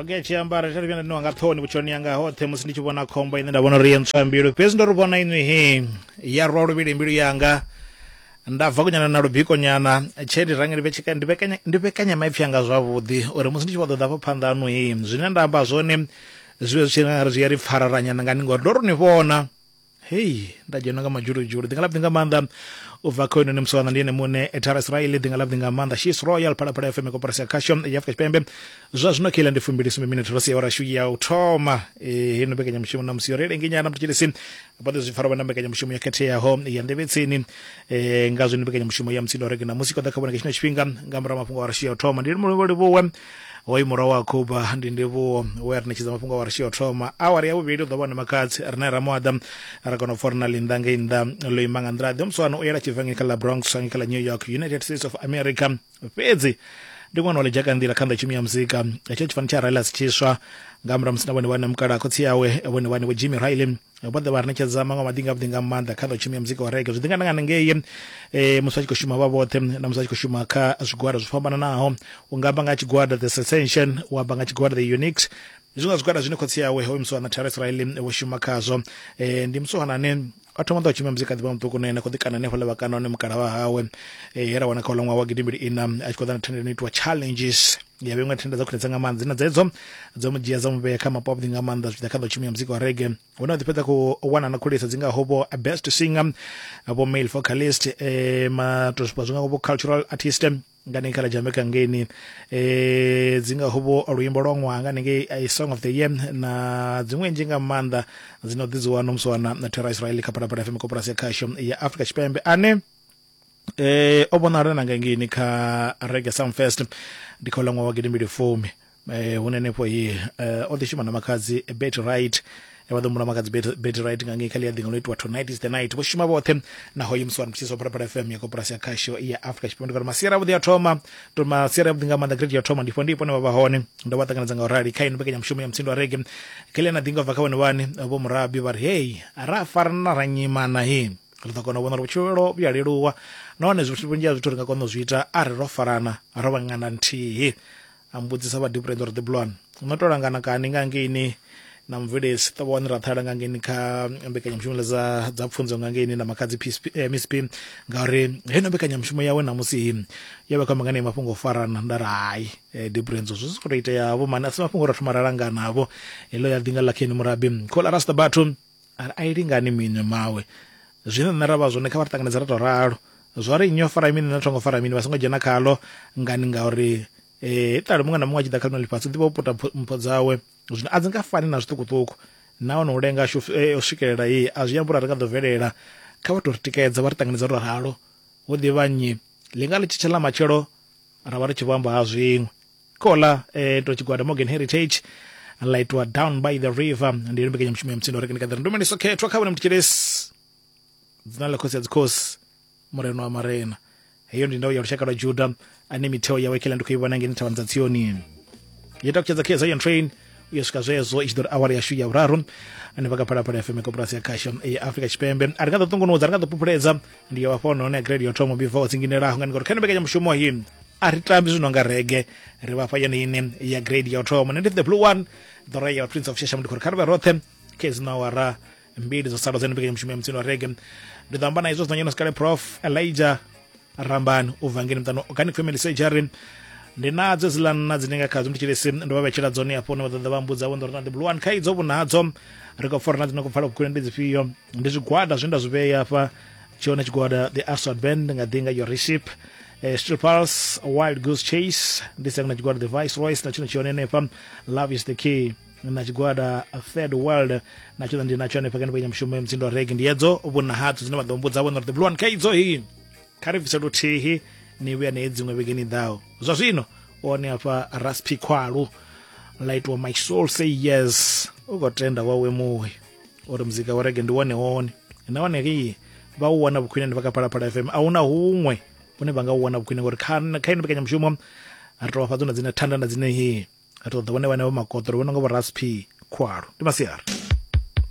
Roge tshi amba ri vhuya nda niwa nga ṱhoni vhutshiloni yanga hoṱhe musi ndi tshi vhona khombo ine nda vhona uri ye ntswa mbilu, fhedzi ndo ri vhona inwi he ya rwa luvhili mbilu yanga nda bva kunyana na lubiko nyana tshe ndi range ndi vhekanya ndi vhekanya maipfi anga zwavhuḓi uri musi ndi tshi vho ḓo ḓa hafho phanḓa hanu he zwine nda amba zwone zwi vhe zwi tshi nga ri zwi a ri pfararanyana ngani ngori ndo ro ni vhona. Hei nda dzhenwa nga madzhuludzhulu ḓinga ḽavhuḓi nga maanḓa u bva kha hoyunoni musiwana ndi ene muṋe Tara Israel ḓinga ḽavhuḓi nga maanḓa She's Royal Phalaphala FM koporasi ya khasho ya Afrika Tshipembe zwa zwino kheila ndi fumbili sumbe minete ro sia awara yashu ya u thoma. Heino mbekanyamushumo na musi yo ri lenginyana mthetshelesi vha ḓo zwi pfara vha na mbekanyamushumo yo khetheaho ya nḓevhetsini nga zwino mbekanyamushumo ya mutsindo rege na musi koḓa kha vhone nga tshino tshifhinga nga murahu mafhungo a rashu ya u thoma. Ndi livhuwe hoyu murwa wa Khuba ndi ndivhuwo we a ri ṋetshedza mafhungo a rashu ya u thoma. Awara ya vhuvhili u ḓo vha hone makhadzi rine ra muaḓa ra kona u pfa uri na ḽinnḓa ngei nnḓa ḽo ima nga nḓila ḓe. Muswana u yela tshibva ngei kha ḽa Bronx ngei kha ḽa New York, United States of America, fhedzi ndi ṅwana wa ḽidzhaka nḓila kha nḓa tshumi ya muzika. Hetsho tshifani tsha Riley tshiswa nga murahu musi na vhone vhane mukala khotsi yawe vhone vhane vho Jimmy Riley vho ḓa vha ri ṋetshedza maṅwe maḓinga avhuḓi nga maanḓa kha ḓo tshumi ya muzika wa reggae. Zwi ḓi nga nga ngei musi vha tshi khou shuma vha vhoṱhe na musi vha tshi khou shuma kha zwigwada zwo fhambananaho, u nga amba nga tshigwada The Sensation, u amba nga tshigwada The Uniques, ndi zwiṅwe zwa zwigwada zwine khotsi awe hoyu musiwana Terence Riley vho shuma khazwo. Ndi musiwana ane o thoma ḓo tshuma muzika ḓivha muṱuku na ene khou ḓi kana hanefhaḽa vha kana hone mukala wa hawe he ra wana kha uḽa ṅwaha wa gidimbili ina a tshi khou ḓa na thendelo ino itiwa challenges ya vha iṅwe thenda dza khwinesa nga maanḓa dzine dzedzo dzo mu dzhia dza mu vhea kha mapo avhuḓi nga maanḓa zwi tshi ḓa kha ḓo tshumi ya muzika wa reggae, hune wa ḓi fhedza khou wana na khulisa dzi ngaho vho best singer, vho male vocalist, matoswa zwi ngaho vho cultural artist nga nengei kha ḽa Jamaica ngeini, dzi ngaho vho luimbo lwa ṅwaha nga nengei song of the year na dziṅwe nnzhi nga maanḓa dzino ḓi dzi wana musiwana na Terra Israel kha Phalaphala FM koporasi ya khasho ya Afrika Tshipembe ane o vhonala na nga ngeini kha Reggae Sumfest ndi kha uḽa ṅwaha wa gidimbili fumi hune henefho hi o ḓi shuma na makhadzi Betty Wright, vha ḓo humbula makhadzi Betty Wright nga ngei kha ḽia ḓinga ḽo itiwa Tonight is the Night. Vho shuma vhoṱhe na hoyu musiwana mutshisi wa Phalaphala FM ya koporasi ya khasho ya Afrika Tshipembe. Ndi khou ri masiari avhuḓi a thoma to masiari avhuḓi nga maanḓa grade ya thoma ndifho ndipo vha vha hone ndo vha ṱanganedza nga u rali kha ino mbekanyamushumo ya mutsindo wa reggae kheḽia na ḓinga bva kha vhone vhane vho murabi vha ri hei ra farana ra nyimana hi ri ḓo kona u vhona uri vhutshilo vhu a leluwa nahone zwithu vhunzhi ha zwithu ri nga kona u zwi ita arali ro farana ro vha ṅanda nthihi. A mbudzisa vha Deep uri Ḓibulwane no to langana kani nga ngeini na mubveledzi ṱovha wani ra ṱhalela nga ngeini kha mbekanyamushumo dza dza pfunzo nga ngeini na makhadzi Miss P, ngauri heino mbekanyamushumo yawe namusi yo vha khou amba nga mafhungo o farana. Nda ri hai Deep Renzo zwi si khou tou itea vho mani, a si mafhungo ra thoma ra langana vho heḽo ya ḓinga ḽa Kenny Murabi khola rasta bathu a ri a i lingani minwe mawe zwine nṋe ra vha zwone kha vha ri ṱanganedza ra tou ralo zwa ri nnyi o fara mini nṋe thongo fara mini vha songo dzhena khalo ngani ngauri ṱali muṅwe na muṅwe a tshi ḓa kha ḽino ḽifhasi u ḓivha u puta mpho dzawe zwino a dzi nga fani na zwiṱukuṱuku nahone u lenga u swikelela iyi a zwi ambi uri a ri nga ḓo bvelela kha vha tou ri tikedza vha ri ṱanganedza ro ralo hu ḓivha nnyi ḽi nga ḽi tshi tsha ḽa matshelo ra vha ri tshi vho amba ha zwiṅwe kola to tshigwada Morgan Heritage ḽa itwa Down by the River ndi yone mbekanyamushumo ya mutsindo uri ndi kha ndumeliso khethwa kha vhone mthetshelesi dzina ḽa khosi ya dzikhosi murena wa marena heyo ndi ndau ya lushaka lwa Juda ane mitheo yawe kheḽa ndi khou i vhona ngeni thavhani dza Tsioni yo takutshedza kha Zion Train u yo swika zwezwo i tshi ḓo ri awara yashu ya vhuraru hanefha kha Phalaphala FM koporasi ya khasho ya Afrika Tshipembe. A ri nga ḓo ṱungunudza, ri nga ḓo phuphuledza ndi yo vhafha hone ya grade yo thoma before tsinginelaho ngani ngori kha mbekanyamushumo iyi a ri tambi zwino nga rege ri vhafha yone ine ya grade ya u thoma. Nṋe ndi the blue one, the royal prince of Shesha, ndi khou ri kha ri vhe roṱhe kha hedzi awara mbili dzo sala dzene mbekanyamushumo ya mutsini wa rege. Ndi ḓo amba na izwo zwino sikale Prof Elijah Rambani u bva ngeni muṱani Organic Family Surgery. Ndi nadzo hedziḽa nna dzine nga khadzo mthetshelesi ndo vha vhetshela dzone afho hune vha ḓo ḓa vha mbudza vho uri na the blue one kha idzo vhunadzo ri khou pfa uri na dzine khou pfala vhukhwine ndi dzifhio. Ndi zwigwada zwine nda zwi vhea afha tshone tshigwada the Aswad Band nga ḓinga your recipe Steel Pulse, Wild Goose Chase, ndi na tshigwada the Viceroys na tshone tshone hanefha Love is the Key na tshigwada Third World na tshone ndi natsho hanefha kha mbekanyamushumo ya mutsindo wa reggae. Ndi hedzo vhuna hadzo dzine vha ḓo mbudza vhona uri the blue one kha idzo hi kha ri bvise luthihi ni vhuya ne dziṅwe vhegeni ḓaho. Zwa zwino one afha Raspi Khwalu ḽa itiwa My Soul Say Yes u khou tenda wawe muwe uri muzika wa reggae ndi wone wone nahone ri vha u wana vhukhwine ndi vha kha Phalaphala FM a huna huṅwe hune vha nga u wana vhukhwine ngori kha ino mbekanyamushumo ri tou vha fha dzone dzine thanda na dzine hi ri ṱoḓa vhone vhane vha makoṱo ri vhona nga vho Raspi Khwalu. Ndi masiari.